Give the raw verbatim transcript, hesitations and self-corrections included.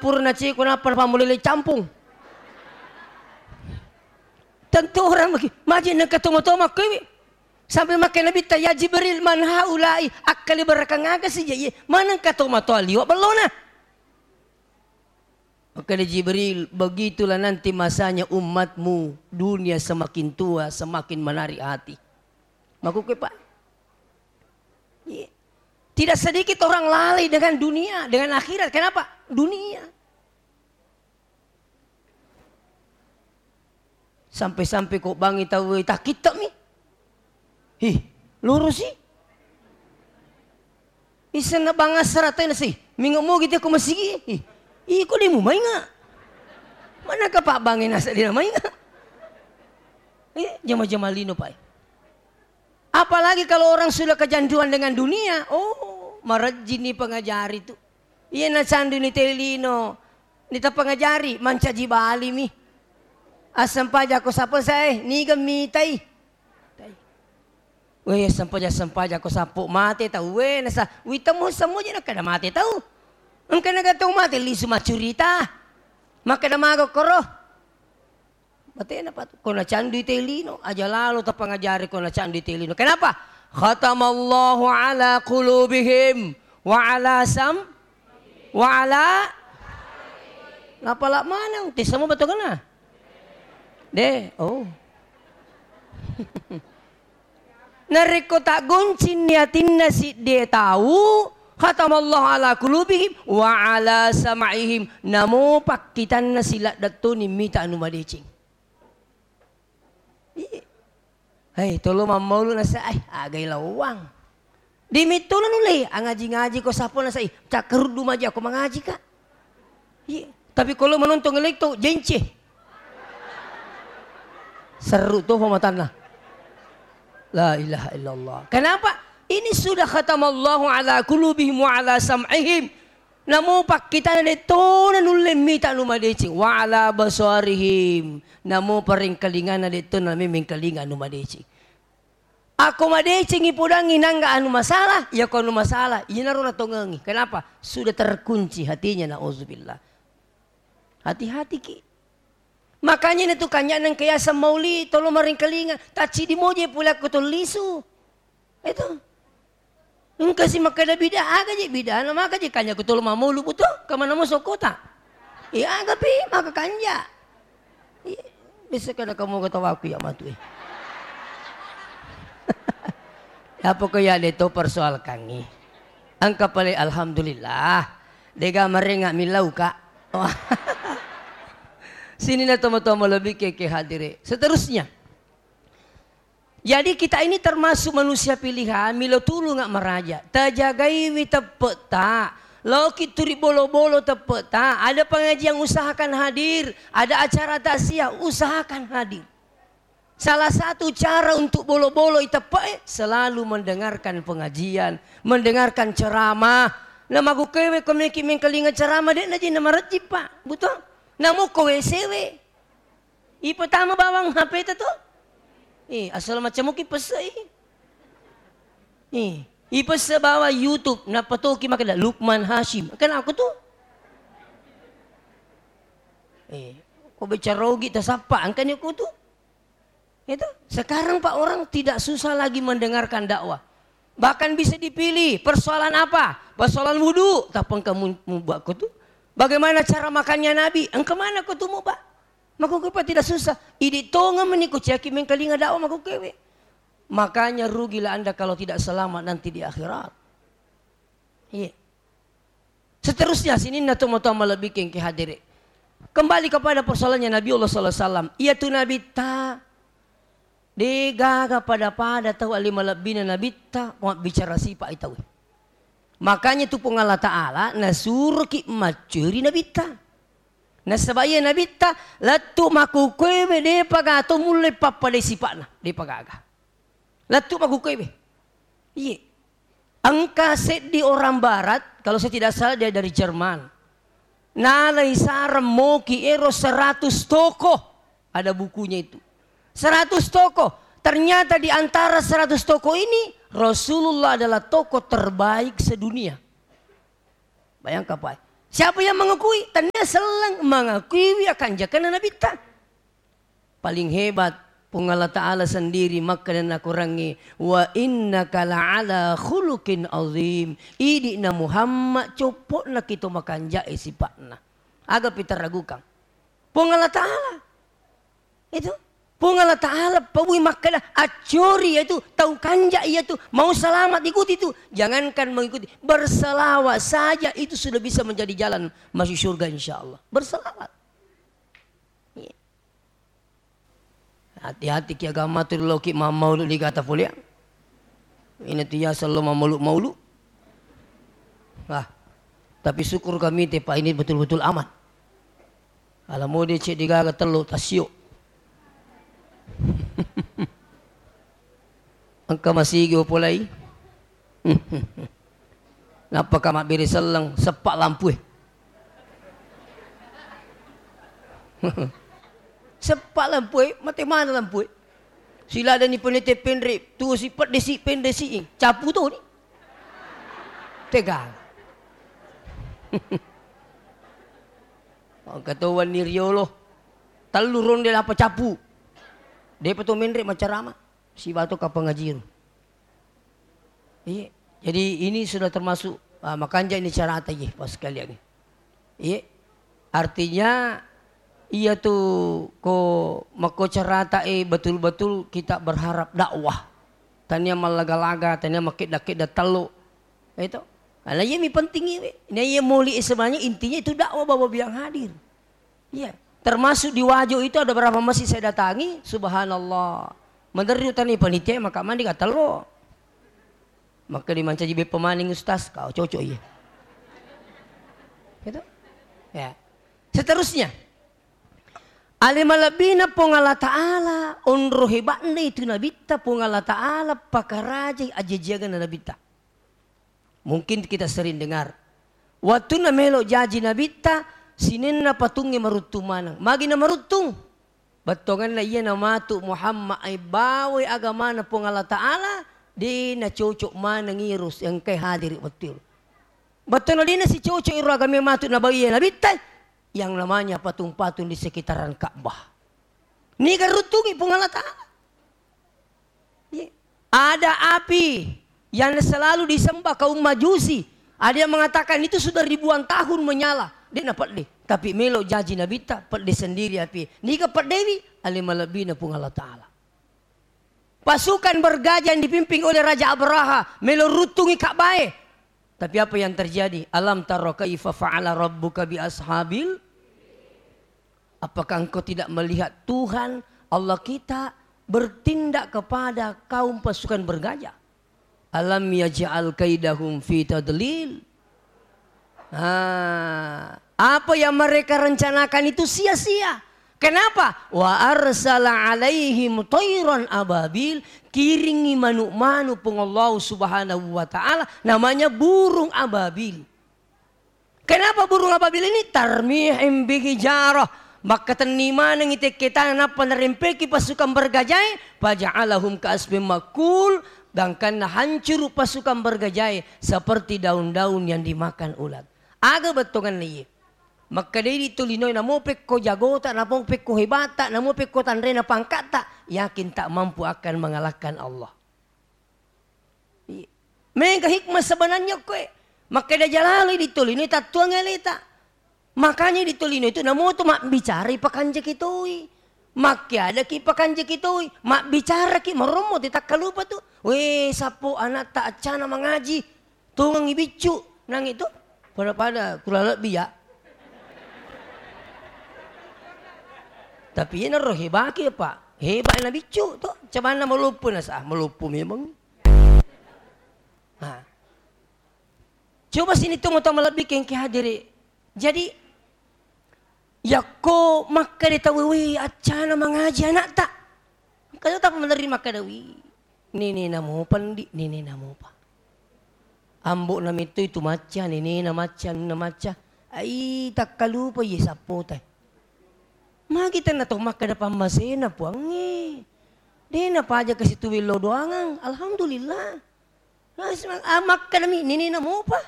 Pura naceko nappa napammulele campung. Tentu orang magi, maji nengka toma-toma kowe. Sampai makkeda Nabitta, "Ya Jibril, man haula'i?" Akkaliberakang aga sija iye? Manengka tomatoa liwa bellona. Makkeda Jibril, "Begitulah nanti masanya umatmu, dunia semakin tua, semakin menarik hati." Makkukue, Pak. Iya. Tidak sedikit orang lalai dengan dunia, dengan akhirat. Kenapa? Dunia. Sampai-sampai ko bangi tau, eh, takkittami. Hi, lorosi. Isenna bangassara tena si, mingo mogi te ko masigi. Hi, iko demu mainga. Mana ka Pak Bangi nasa dina mainga. Eh, jama-jama lino, Pak. Apalagi kalau orang sudah kecanduan dengan dunia, oh, marejjini pengajari tu. Iya, nacanduni te lino, nita pengajari, mancaji balimi. Assempajako sappo sae, niga mitai. Weh, sempajang-sempajang ko sappo mate tau, weh, nasa, witemu semua je nakkeda mate tau. Engka naga tau mate, lisu maccurita. Makkeda mago koro. Matena patu. Ko nacandui te lino, aja lalo tapangajari ko nacandui te lino. Kenapa? Khatamallahu ala qulubihim wa ala sam-, wa ala, napala maneng, te semua betul kena? De, oh. Narekko taggoncingni atinna siddie tau, khatamallahu ala qulubihim wa ala sam'ihim, namo pakkitanna siladdettoni mita anu madeceng. Iya. Hei, tolo mammaulu nasa, ai, agai lawang. Dimittuna nulle, angaji-ngaji ko sappo nasa, ih, cakkeruddu maji ako mangaji ka. Iya. Tapi kalau menonton elekto, jence. Seru tuh pematanna. La ilaha illallah. Kenapa? Ini sudah khatamallahu ala qulubihim wa ala sam'ihim. Namo pakkitana de'tona nulle mita anu madeceng. Wa ala basarihim. Namo parengkalingana de'tona memmengkalinga anu madeceng. Ako madecengi podangngi nangga anu masalah, iya ko anu masalah, iyanaro natongengi. Kenapa? Sudah terkunci hatinya, naudzubillah. Hati-hati ki. Makanya natu kanya nengka yaseng mauli, tolo marengkalinga, taccidi moje pole akko tollisu. Itu. Engka si makkeda bida, aga je bidana, maka je kanja ko tolo mamolu buto, kemana mo sokota? Iya, aga pi, maka kanja. Iya, bisa kada kamu ketawaku ya matu, eh. Ya pokoknya de to persoalkangi. Engka pale alhamdulillah. Dega marenga milau ka. Sini na tomo-tomo lebih ke, ke hadire. Seterusnya. Jadi kita ini termasuk manusia pilihan, milo tulunga maraja. Tajagaiwi teppe'ta. Laoki turi bolo-bolo teppe'ta. Ada pengajian usahakan hadir. Ada acara takziah usahakan hadir. Salah satu cara untuk bolo-bolo iteppe'e selalu mendengarkan pengajian, mendengarkan ceramah. Na magukewe ko meki mengkalinga ceramah de' naji na marejji, Pak. Betul? Namo ko W C we. Ipetama bawang H P ta to? Eh, asal macam muki pesei. Eh, ipese bawa YouTube, napatoki makkeda Lukman Hashim. Kan aku tu? Eh, ko bicara ogi tasappa, angkani aku tu? Itu. Sekarang, Pak, orang tidak susah lagi mendengarkan dakwah. Bahkan bisa dipilih persoalan apa? Persoalan wudu, tappa engka mu-, muba ko tu. Bagaimana cara makannya Nabi? Engka mana ko tu muba? Makkukue, Pak, tidak susah. Idi tongeng meni ko ciaki mengkalinga dakwah makkukue. Makanya rugilah Anda kalau tidak selamat nanti di akhirat. Iya. Seterusnya, sininna tomatoa malebbi kengke hadere. Kembali kepada persoalannya Nabi Allah sallallahu alaihi wasallam. Iya tu Nabi ta, de gaga pada-pada tau ali malebbina Nabitta, mabbicara sipa i tau. Makanya tu Puang Allah Ta'ala nasuroki maccuri Nabitta. Nasaba iya Nabitta lettu makkukuewe depa gaga to mulle pappadai sipa'na, depa gaga. Lettu makkukuewe. Iye. Engka seddi orang barat, kalau saya tidak salah dia dari Jerman. Nalai sareng moki ero seratus toko. Ada bukunya itu. Seratus toko. Ternyata di antara seratus toko ini, Rasulullah adalah toko terbaik sedunia. Bayangkan, Pak. Siapa yang mengakui? Tennia selleng mengakuiwi akanjakenna Nabitta. Paling hebat, Puang Allah Ta'ala sendiri makkeda nakorangngi, "Wa innaka la'ala khuluqin azim." Idi'na Muhammad, coppo'na ki to makanja'e sipa'na. Aga pitaragukan? Puang Allah Ta'ala. Itu. Puang Allah Ta'ala pabui makkeda, accori yaitu, tau kanja iyatu, mau selamat ikuti itu. Jangankan mengikuti, berselawat saja itu sudah bisa menjadi jalan masuk surga, insya Allah. Berselawat. Iya. Hati-hati ki agama tu, lo ki mammaulu di kata pole. Ini tu ya selalu mammaulu-maulu. Ah, tapi syukur kami te, Pak, ini betul-betul aman. Ala mode cek digaga tello tasio. Engka masigi opolai. Nappa ka mabbere selleng, seppa lampue. Seppa lampue, mate mana lampue? Siladani penete penre, tuo si pedde si penre si, capu to ni. Tegang. Engka to wenni riolo, tellu ronde lapa capu. Depa to menre macarama. Sibawa to kapang ngajiru. Iya. Jadi ini sudah termasuk, ah, makanja ini carata, iya, pas sekalian. Iya. Artinya, iya tu ko makko carata, eh, betul-betul kita berharap dakwah. Tania mallaga-laga, tania makedda-kedda tello. Itu. Karena iya mi penting iwe. Nah, iya moli sebenarnya intinya itu dakwah, bahwa yang hadir. Iya. Termasuk di Wajo itu ada berapa masjid saya datangi, subhanallah. Meneri utani panitia, maka mandi katello. Maka dimancaji beppa maning ustaz, kau cocok iya. Gitu? Ya. Seterusnya. Ale malebbina Puang Allah Ta'ala, onro hebatna itu Nabitta, Puang Allah Ta'ala pakarajai ajajiangenna Nabitta. Mungkin kita sering dengar. Wattunna melo jaji Nabitta, sininna patungnge maruttung maneng. Magi na maruttung? Bettuangenna iya namatu Muhammad, ai bawai agamana Puang Allah Ta'ala, de nacocok maneng iro engkai hadiri wettu iro. Bettuanna de nasicocok iro agama matu nabawi Nabitta, yang namanya patung-patung di sekitaran Ka'bah. Niga ruttungi Puang Allah Ta'ala. Iya. Ada api yang selalu disembah kaum Majusi. Ada yang mengatakan itu sudah ribuan tahun menyala. Dia na pedde. Tapi melo jaji Nabitta, pedde sendiri api. Niga peddewi? Ale malebbina Puang Allah Ta'ala. Pasukan bergajah yang dipimpin oleh Raja Abraha melo ruttungi Ka'bae. Tapi apa yang terjadi? Alam tara kaifa fa'ala rabbuka bi ashabil Apakah engkau tidak melihat Tuhan Allah kita bertindak kepada kaum pasukan bergajah? Alam yaj'al kaidahum fi tadlil. Ah, apa yang mereka rencanakan itu sia-sia. Kenapa? Wa arsala alaihim tairan ababil, kiringi manu-manu Puang Allah Subhanahu wa Ta'ala, namanya burung ababil. Kenapa burung ababil ini? Tarmihim bihijarah. Makkatenni manengngi tekke tana nappa narempeki pasukan bergajae, faja'alahum ka'asfin makul, gangkanna hancuru pasukan bergajae seperti daun-daun yang dimakan ulat. Aga bettuanna iye? Makkedai di tolinoe, namo pekko jagota, namo pekko hebata, namo pekko tanrena pangkatta, yakin tak mampu akan mengalahkan Allah. Iya. Mega hikmah sebenarnya koe. Makkeda jalaloi di tolino tattuang aleta. Makanya di tolino itu namoto mabbicara ipakanjaki toi. Makkeadaki ipakanjaki toi. Mabbicaraki marommo te takkalupa tu. Weh, sappo anatta accana mangaji. Tongengi biccu. Nang itu. Pada-pada kurang lebih ya. Tapi iyanaro hebaki, Pak. Hebat na biccu to. Cabanna maloppo nasa, maloppo memang. Nah. Coba sini tu mata malebbi kengke hadiri. Jadi, yakko makkeda tau, "Wi, accana mangaji anakta." Engka to tapa menerri makkeda, "Wi, nenena mopa ndi, nenena mopa. Ambo'na metto itu macca, nenena macca, anunna macca." Ai, takkalupa iye sappota. Magi tenna to makkeda pammasena Puangnge. De napaja kasi tuwello doangang. Alhamdulillah. Nah, sema-, ah, makkedami, "Nenena mopa."